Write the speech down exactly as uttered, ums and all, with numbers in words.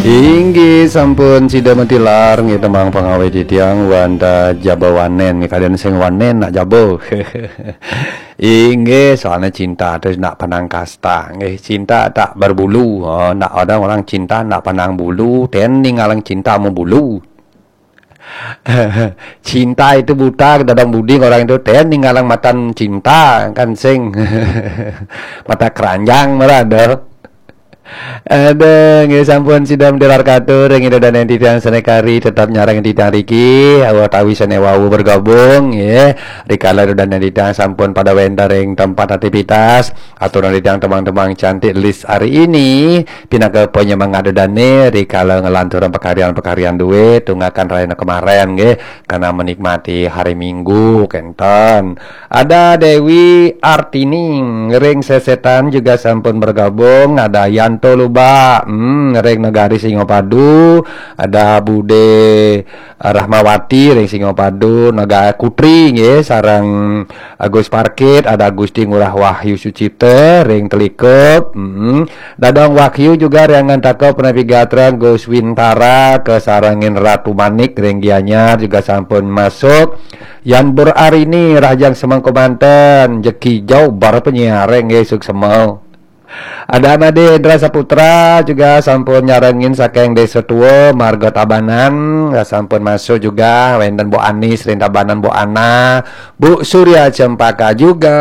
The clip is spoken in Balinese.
Inggih sampun sida matilar nggih tembang pangawit titiang wantah jaba wanen nggih, kadén sing wanen nak jaba. Inggih, soalnya cinta itu nak pandang kasta nggih, cinta tak berbulu. Oh, nak ada orang cinta nak pandang bulu, ten ningalang cinta mau bulu. Cinta itu buta, dadang budi orang itu, ten ningalang matan cinta kan sing mata keranjang marada. Aduh, nggih sampun sida matilar katur ring Ida Dané titiang sané kari tetap nyarengin titiang riki, awatawi sané wau bergabung nggih. Rikala Ida Dané titiang sampun pada wénten ring tempat aktivitas, aturang titiang tembang-tembang cantik list hari ini pinaka penyemangat Ida Dané rikala ngelanturang pakaryan-pakaryan dué tunggakan rahina kemaren nggih, karena menikmati hari Minggu kénten. Ada Dewi Artini ring Sesetan juga sampun bergabung. Ada Yanto Luba, hmm, ring Negari Singapadu. Ada Bude Rahmawati ring Singapadu, Negara Kutri nggih, sareng Agus Parkit, ada Gusti Ngurah Wahyu Sucipta ring Telikup. Hmm. Dadang Wahyu juga ring Ngantaka, Penapi Gatra, Gus Wintara, kasarengin Ratu Manik ring Gianyar juga sampun masuk. Yan Bur Arini, Rahajeng Semengko Banten, Jeki Jau, bar penyiar nggih, suksma. Ada Made Indra Saputra juga sampun nyarengin saking Desa Tua, Marga Tabanan, sampun masuk juga, wénten Bu Anis ring Tabanan, Bu Ana, Bu Surya Cempaka juga.